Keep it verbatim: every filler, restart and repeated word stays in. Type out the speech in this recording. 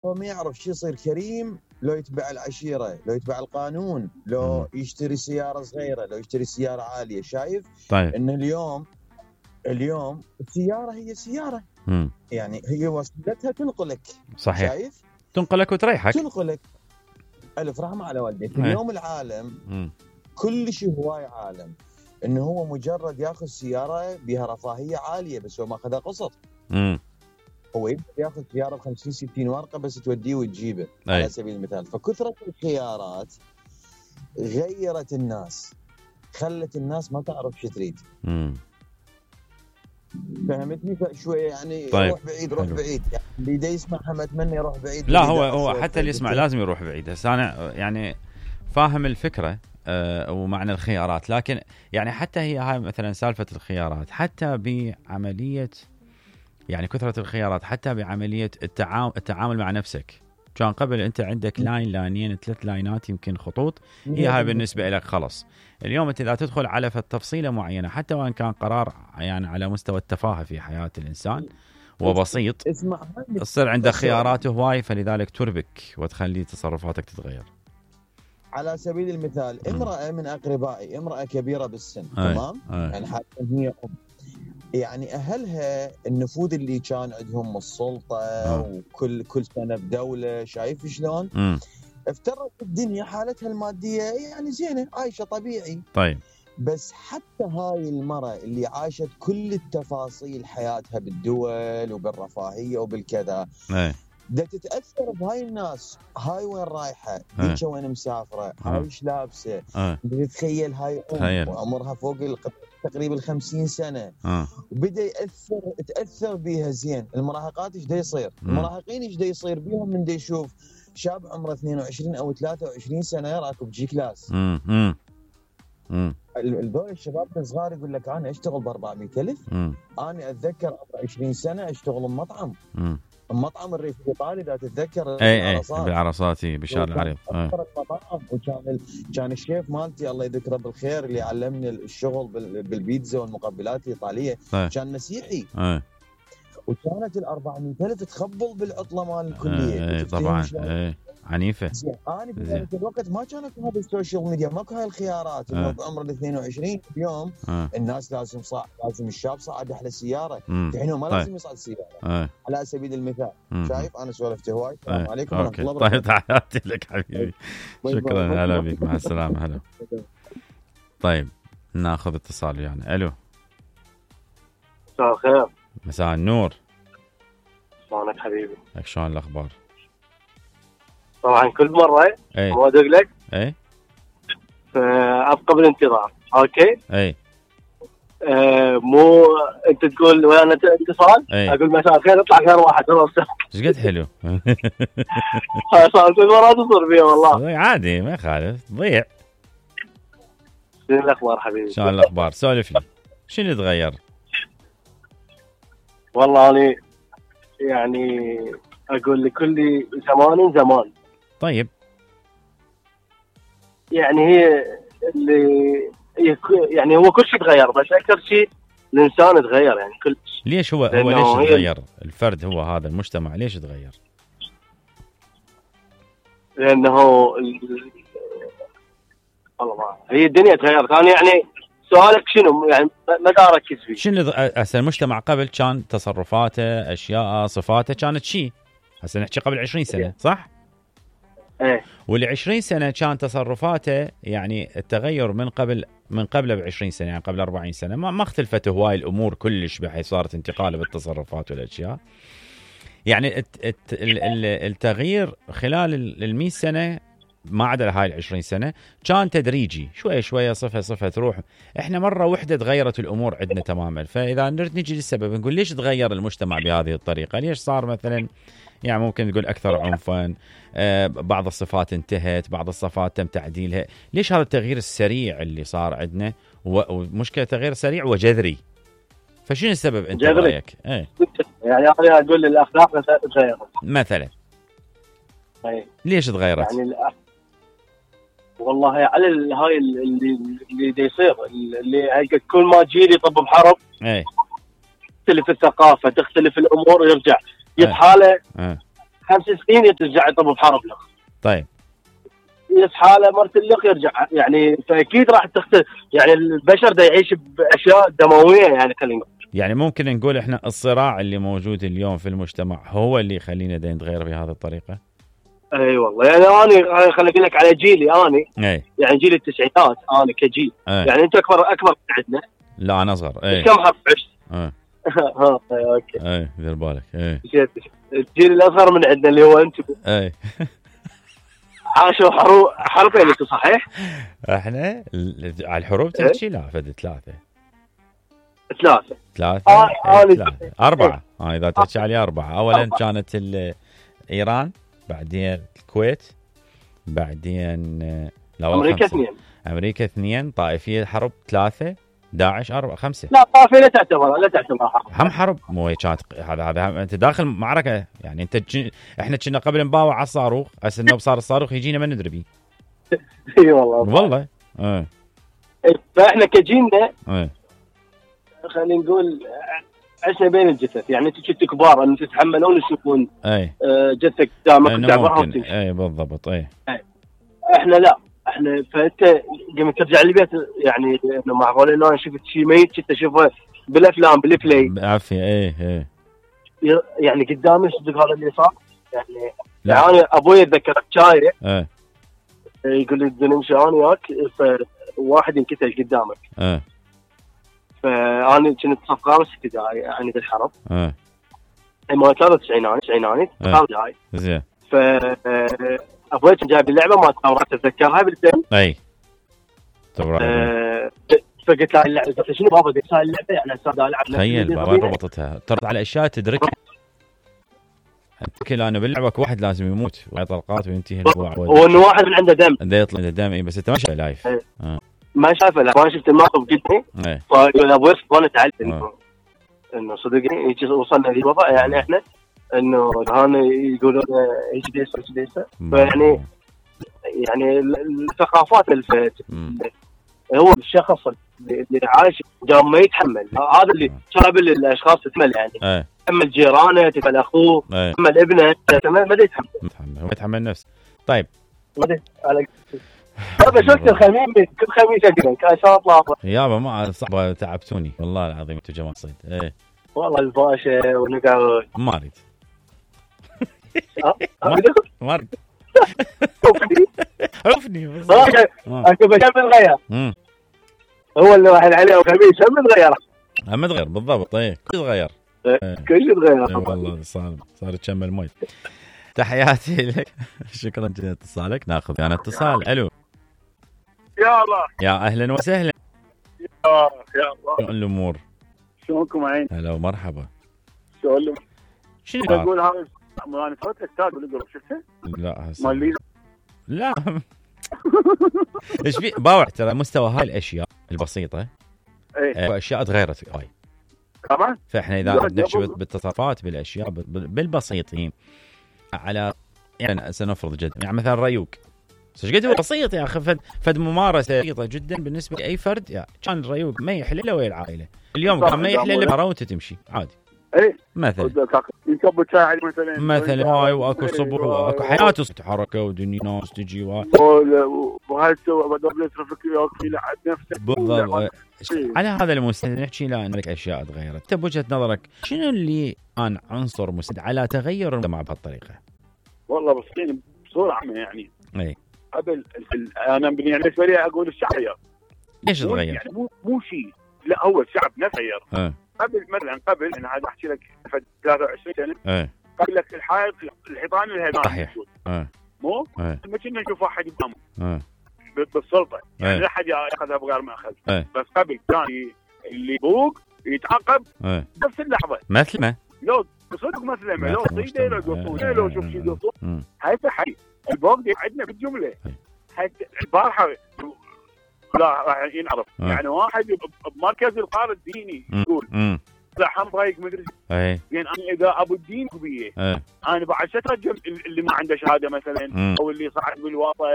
هو ما يعرف شو يصير كريم لو يتبع العشيرة، لو يتبع القانون، لو يشتري سيارة صغيرة، لو يشتري سيارة عالية. شايف طيب. إن اليوم اليوم السيارة هي سيارة، مم. يعني هي وسيلتها تنقلك. صحيح. شايف؟ تنقلك وتريحك. تنقلك. ألف رحمة على والديك. اليوم العالم مم. كل شيء هواي عالم إنه هو مجرد ياخذ سيارة بها رفاهية عالية، بس هو ما أخذها قسط. مم. هو يقدر ياخذ سيارة بخمسين ستين ورقة بس توديه وتجيبه. أي. على سبيل المثال. فكثرة الخيارات غيرت الناس، خلت الناس ما تعرف شو تريد. امم فهمتني؟ شويه يعني. طيب. روح بعيد روح حلو. بعيد يعني اللي دا يسمعها ما اتمنى يروح بعيد. لا هو هو حتى اللي يسمع لازم يروح بعيد. هسه انا يعني فاهم الفكره أه ومعنى الخيارات، لكن يعني حتى هي هاي مثلا سالفه الخيارات حتى بعمليه، يعني كثره الخيارات حتى بعمليه التعامل التعامل مع نفسك. كان قبل انت عندك لاين لاينين ثلاث لاينات يمكن خطوط، هي هاي بالنسبه لك خلص. اليوم انت اذا تدخل على تفصيله معينه حتى وان كان قرار يعني على مستوى التفاهه في حياه الانسان وبسيط، تصير عنده خيارات هواي، فلذلك تربك وتخلي تصرفاتك تتغير. على سبيل المثال امراه من اقربائي، امراه كبيره بالسن، تمام، يعني حتى هي ام، يعني أهلها النفوذ اللي كان عندهم السلطة آه. وكل كل سنة بدولة. شايف شلون؟ م. افترضت الدنيا حالتها المادية يعني زينة، عايشة طبيعي. طيب. بس حتى هاي المرأة اللي عاشت كل التفاصيل حياتها بالدول وبالرفاهية وبالكذا، ايه، دا تتأثر بهاي الناس. هاي وين رايحة؟ هيك وين مسافرة؟ هاي ايش لابسة؟ تتخيل هاي أم وعمرها فوق تقريبا الخمسين سنة آه. وبدأ يأثر تأثر بيها زين. المراهقات ايش دا يصير؟ م. المراهقين ايش دا يصير بيهم من دا يشوف شاب عمره اثنين وعشرين أو ثلاثة وعشرين سنة راكب جي كلاس. م. م. الدول الشباب الصغار يقول لك أنا أشتغل بأربعمية ألف. أنا أتذكر عمر عشرين سنة أشتغل بمطعم. م. المطعم الريف الإيطالي إذا تتذكر اي اي بالعرصات بشارع العريض. وكان ال... كان الشيف مالتي الله يذكره بالخير اللي علمني الشغل بال... بالبيتزا والمقبلات الإيطالية أي. كان مسيحي. أي. وكانت الأربعمية ألف تخبل بالعطلة مال الكلية. اي طبعا اي عنيفة. أنا في ذلك الوقت ما كانت هذه السوشيال ميديا، ماكو هاي الخيارات. إنه بعمر ال اثنين وعشرين اليوم أه. الناس لازم صاع لازم الشاب صعد أحلى سيارة، الحين ما طيب. لازم يصعد سيارة. أه. على سبيل المثال. مم. شايف أنا سولفت هواي. السلام أه. عليكم ورحمة الله وبركاته. طيب تحياتي لك حبيبي. شكرا، هلا بك، مع السلامة. هلا. طيب ناخذ اتصال يعني. ألو. مساء الخير. مساء النور. شلونك حبيبي؟ لك شلون الأخبار؟ طبعا كل مرة ما أدق لك اي فأبقى بالانتظار. أوكي اي أه مو أنت تقول وأنا اتصال أقول مساء الخير يطلع غير واحد. خلاص ايش قد حلو. صار كل مرة تصير فيها والله. عادي ما يخالف، ضيع. شنو الأخبار حبيبي؟ شلون الأخبار؟ سولف لي شنو تغير؟ والله أنا يعني أقول لكل زمان زمان. طيب يعني هي اللي يعني هو كل شيء تغير، بس أكثر شيء الإنسان تغير يعني كل شيء. ليش هو هو ليش تغير؟ الفرد هو هذا المجتمع ليش تغير؟ لأنه والله ما هي الدنيا تغيرت. أنا يعني سؤالك شنو يعني ما دا أركز فيه. شنو هسه المجتمع قبل كان تصرفاته أشياء صفاته كانت شيء، هسه نحكي قبل عشرين سنة صح؟ ايه. واللي عشرين سنة كان تصرفاته يعني التغير من قبل من قبله بعشرين سنة، يعني قبل أربعين سنة ما ما اختلفت هواي الأمور كلش بحيث صارت انتقال بالتصرفات والأشياء. يعني الت الت التغيير خلال المئة سنة ما عدا هاي العشرين سنة كان تدريجي شوية شوية صفة صفة تروح. احنا مرة واحدة تغيرت الأمور عندنا تماما. فإذا نريد نجي للسبب نقول ليش تغير المجتمع بهذه الطريقة؟ ليش صار مثلا يعني ممكن تقول أكثر عنفا، آه بعض الصفات انتهت، بعض الصفات تم تعديلها. ليش هذا التغيير السريع اللي صار عندنا؟ ومشكلة تغيير سريع وجذري. فشنو السبب انت رأيك؟ ايه يعني أنا أقول الأخلاق تغيرت مثلا. ايه. ليش تغيرت؟ يعني الأخ... والله على هاي اللي اللي دي يصير اللي كل ما جيل يطب بحرب ايه تختلف الثقافة، تختلف الأمور، ويرجع يتحاله ايه. خمس سنين يرجع يطب بحرب لخ. طيب يصحى له مرت اللخ يرجع يعني، فاكيد راح تختلف يعني. البشر دا يعيش باشياء دمويه يعني. خلينا يعني ممكن نقول احنا الصراع اللي موجود اليوم في المجتمع هو اللي يخلينا دا نتغير بهذه الطريقه. اي أيوة والله يعني انا خليني اقول لك على جيلي انا. أي. يعني جيل التسعينات انا كجيل. أي. يعني انت اكبر اكبر من عندنا. لا انا اصغر. اي كم حرب عشت؟ ها اوكي. اي دير بالك. اي الجيل الاصغر من عندنا اللي هو انتم. اي عاشوا حروب حربين انتم صحيح؟ احنا على الحروب تحكي لا فد ثلاثه ثلاثه ثلاثه آه آه ثلاثه اربعه. اه اذا تحكي علي اربعه. اولا أربعة. كانت ايران، بعدين الكويت، بعدين لا امريكا اثنين. امريكا اثنين. طائفيه حرب ثلاثه. داعش أربعة خمسة. لا طائفيه لا تعتبر لا تعتبر حرب. هم حرب مو هي كانت. هذا هذا انت داخل معركه يعني. انت جن... احنا كنا قبل نباوع على الصاروخ، هسه انه صار الصاروخ يجينا ما ندري بيه. اي والله والله. اه فاحنا كجيلنا اه خلينا نقول عشنا بين الجثث يعني. انتم كنتوا كبار ان تتحملون تشوفون اي جثه قدامك تعبرها وتمشي. اي بالضبط. اي احنا لا احنا فانت قمت ترجع البيت يعني انه معقول انه انا شفت شيء ميت كنت اشوفه بالافلام بالبلاي بعافيه. اي اي يعني قدامي صدق هذا اللي صار يعني. يعني انا ابوي اتذكر شايع ايه يقول لي بدنا نمشي انا وياك فواحد ينكتل قدامك. ايه فانا كنت صف خامس ابتدائي يعني بالحرب. ايه ما كانت تسعيناني تسعيناني ابتدائي. زين. ف ابوي كان جايب اللعبه ما راح اتذكرها بالفيلم. اي أه فقلت له اللعبه قلت شنو بابا قلت له اللعبه يعني هسه العب. تخيل وين ربطتها. ترد على اشياء تدركها. كل انا باللعبه واحد لازم يموت ويعطي طلقات وينتهي الموضوع. وانه واحد من عنده دم. ده يطلع دم. اي بس انت ما شايفه لايف. اه. ما شايفه لا ما شفت الموقف قدامي. ايه فقال ابوي وانا تعلم انه انه صدقني وصلنا للوضع يعني احنا انه هان يقولون ايش ديسه ايش ديسه. فيعني يعني الثقافات الفت هو الشخص اللي عايش قام ما يتحمل. هذا اللي قابل الاشخاص تتحمل يعني. ايه تحمل جيرانه تحمل اخوه ايه. تحمل ابنه ما دا يتحمل. هو يتحمل نفسه. طيب على هذا شفت الخميس كل خميس اقرا كان شاء الله يابا ما صعبه تعبتوني والله العظيم انتم جماعه صيد. ايه والله الباشا ونقعد ما اريد ما اريد عفني بس انت بكمل غير هو اللي راح عليه وخميس هم تغير هم تغير بالضبط. ايه كل تغير كل شيء تغير والله. صار صار تشمل مي. تحياتي لك. شكرا جزيلا اتصالك. ناخذ انا اتصال. الو يا الله. يا اهلا وسهلا. يا يا الله. شلون الامور؟ شلونكم عين؟ هلا ومرحبا. شلون شنو تقول هذا؟ انا صوت استاذ ولا شفته؟ لا مال لا ايش في باوع ترى مستوى هاي الاشياء البسيطه ايه اشياء تغيرت هاي طبعا. فاحنا اذا نحكي بالتصرفات بالاشياء بالبسيطين على يعني سنفرض جد يعني مثلا ريوق ايش قد هو بسيط يا اخي. فد, فد ممارسه بسيطه جدا بالنسبه لاي فرد. يعني كان الريوق ما يحل الا ويا العائله. اليوم كان ما يحل الا برا وانت تمشي عادي. ايه مثلا يكب شاي مثلا مثلا هاي واكو صبح واكو حياته حركه ودنيا ناس تجي وهاي بدل يصرفك يوقف لعد نفسه بالضبط. على هذا المستوى نحكي لا انك اشياء تغيرت. انت بوجهه نظرك شنو اللي كان عنصر مساعد على تغير المجتمع بهالطريقه؟ والله بس بصوره عامه يعني اي قبل انا بالنسبه لي اقول الشعب ليش تغير؟ يعني مو مو شيء لا هو الشعب نفسه تغير. اه قبل مثلا قبل انا هذا احكي لك ثلاثة وعشرين سنه. ايه قبل لك الحائط الحيطان الهدام صحيح. اه مو ايه ما كنا نشوف واحد يقام اه بالسلطه يعني ايه. لا احد ياخذها بغير ما اخذ. ايه. بس قبل كان اللي يبوق يتعاقب ايه. نفس اللحظه مثل ما لو بصدق مثلا لو صيده لو قصوده لو شوف شيء قصو اه. هاي حي البوق دي عندنا بالجمله. هاي البارحه لا راح ينعرف. اه. يعني واحد بمركز القرار الديني يقول لحم ضايق مدري اي يعني انا اذا ابو الدين بيه ايه. انا بعد شترجم اللي ما عنده شهاده مثلا م. او اللي صعد بالواسطه